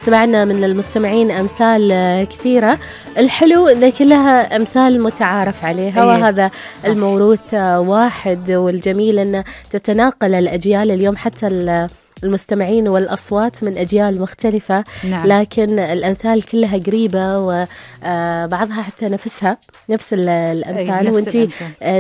سمعنا من المستمعين أمثال كثيرة. الحلو أن كلها أمثال متعارف عليها، وهذا صح. الموروث واحد، والجميل أن تتناقل الأجيال اليوم، حتى المستمعين والأصوات من أجيال مختلفة. نعم. لكن الأمثال كلها قريبة، وبعضها حتى نفس الأمثال. وانتي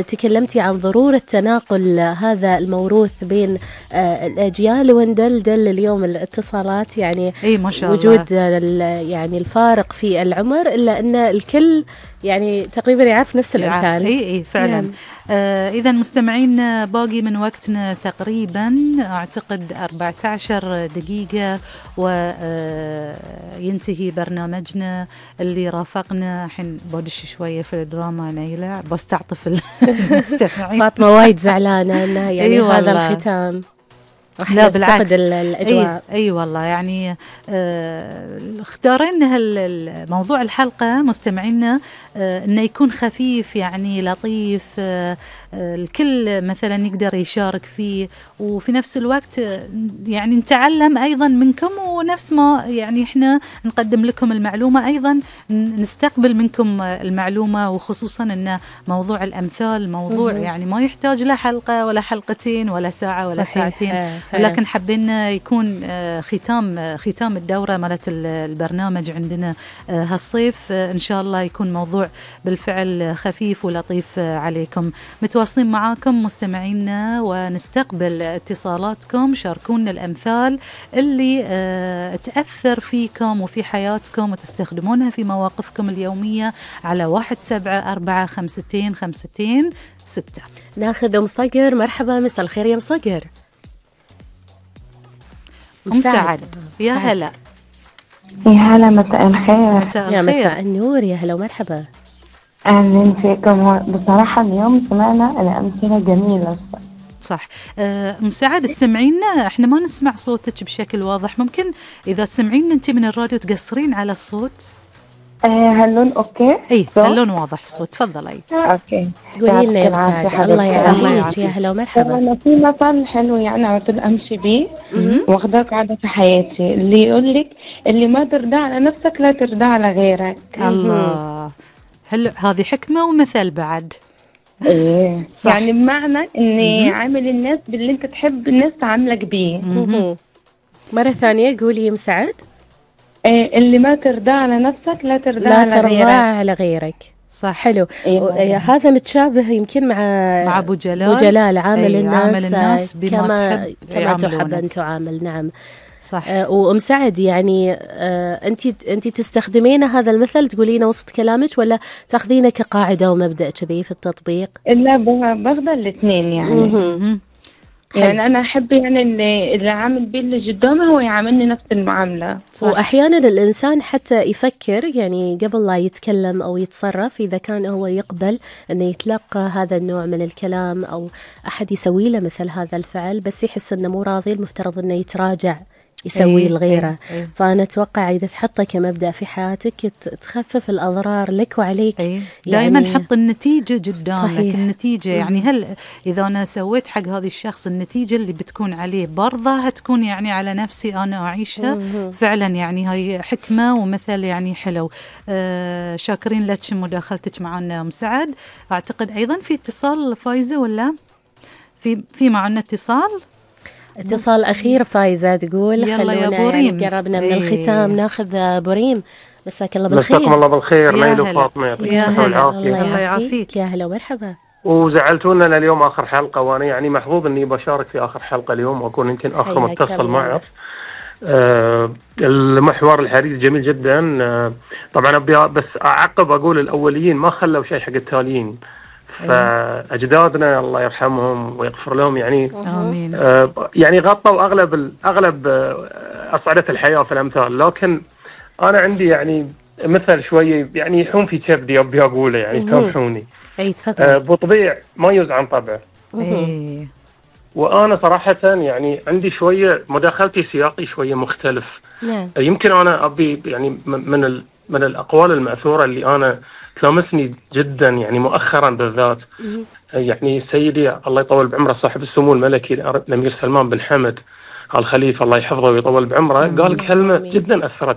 تكلمتي عن ضرورة تناقل هذا الموروث بين الأجيال، وندلدل اليوم الاتصالات، يعني ما شاء وجود يعني الفارق في العمر، إلا أن الكل يعني تقريبا يعرف نفس الأمثال. اي فعلا. إذا مستمعين باقي من وقتنا تقريبا أعتقد 14 دقيقة وينتهي برنامجنا اللي رافقنا. الحين بدش شوية في الدراما نيلة، بس تعطف المستمعين. فاطمة وايد زعلانة أنها يعني هذا الختام. لا بالعكس، الأجواء. أي والله يعني اختارنا موضوع الحلقة مستمعينا إنه يكون خفيف، يعني لطيف، الكل مثلا يقدر يشارك فيه، وفي نفس الوقت يعني نتعلم أيضا منكم، ونفس ما يعني إحنا نقدم لكم المعلومة أيضا نستقبل منكم المعلومة. وخصوصا إن موضوع الأمثال موضوع يعني ما يحتاج لا حلقة ولا حلقتين ولا ساعة ولا ساعتين، ولكن حبينا يكون ختام الدورة مالت البرنامج عندنا هالصيف. إن شاء الله يكون موضوع بالفعل خفيف ولطيف عليكم. متواصلين معاكم مستمعينا ونستقبل اتصالاتكم. شاركونا الأمثال اللي تأثر فيكم وفي حياتكم وتستخدمونها في مواقفكم اليومية على 17452526. ناخذ أم صقر. مرحبا، مساء الخير يا أم صقر. أم سعد، يا هلا. يا هلا، مساء الخير. يا مساء النور، يا هلا ومرحبا. أهلا فيكم. بصراحة اليوم سمعنا الأمثلة جميلة. صح. أم سعد، سمعينا، احنا ما نسمع صوتك بشكل واضح، ممكن إذا سمعينا أنت من الراديو تقصرين على الصوت؟ هاللون أوكي؟ إيه هاللون واضح الصوت، تفضلي. أوكي. قولي لنا يا سعد. الله يعافيك، يا هلا ومرحبا. أنا في مثل حلو يعني على طول أمشي بيه واخداه قاعدة في حياتي، اللي يقول لك اللي ما ترضى على نفسك لا ترضى على غيرك. الله، هذه حكمة ومثل بعد. إيه صح. يعني بمعنى إني عامل الناس باللي أنت تحب الناس تعاملك بيه. مرة ثانية قولي يا مسعد. اللي ما ترضى على نفسك لا ترضى على غيرك. صح. حلو. هذا متشابه يمكن مع أبو جلال. عامل الناس كما تحب أن تعامل. نعم صح. وأم سعد، يعني أنت تستخدمين هذا المثل تقولينه وسط كلامك، ولا تاخذينه كقاعدة ومبدأ كذي في التطبيق؟ لا، باخذ الاثنين يعني. يعني أنا أحب يعني اللي عامل بيه اللي قدامه هو يعاملني نفس المعاملة. صح. وأحيانا الإنسان حتى يفكر يعني قبل لا يتكلم أو يتصرف، إذا كان هو يقبل أنه يتلقى هذا النوع من الكلام أو أحد يسوي له مثل هذا الفعل، بس يحس أنه مو راضي، المفترض أنه يتراجع يسوي الغيرة. فأنا أتوقع إذا تحطه كمبدأ في حياتك تخفف الأضرار لك وعليك. يعني دائما حط النتيجة قدامك. النتيجة يعني هل إذا أنا سويت حق هذا الشخص النتيجة اللي بتكون عليه برضه هتكون يعني على نفسي أنا أعيشها. فعلا يعني هاي حكمة ومثل يعني حلو. شاكرين لك مداخلتك معنا أم سعد. أعتقد أيضا في اتصال فايزة، ولا في معنا اتصال أخير. فايزة تقول يلا يا بوريم، قربنا من الختام. ناخذ بوريم. مساك الله بالخير. مساكم الله بالخير. نيل وفاطمة، يعطيكم الصحة والعافية. الله يعافيك. يا هلا ومرحبا. وزعلتونا اليوم آخر حلقة، وأنا يعني محظوظ إني بشارك في آخر حلقة اليوم وأكون يمكن آخر متصل معك. المحور الحديث جميل جدا. طبعا بس أعقب أقول الأوليين ما خلوا شيء حق التاليين، فأجدادنا الله يرحمهم ويغفر لهم يعني آمين. يعني غطوا أغلب أصعدة الحياة في الأمثال. لكن أنا عندي يعني مثل شوية يعني يحوم في كبدي أبي أقوله، يعني سامحوني. بطبيع ما يوز عن طبعه. وأنا صراحة يعني عندي شوية مداخلتي سياقي شوية مختلف. يمكن أنا أبي يعني من الأقوال المأثورة اللي أنا تلامسني جدا يعني مؤخرا بالذات، يعني سيدي الله يطول بعمره صاحب السمو الملكي الأمير سلمان بن حمد آل خليفة الله يحفظه ويطول بعمره، قال كلمة جدا أثرت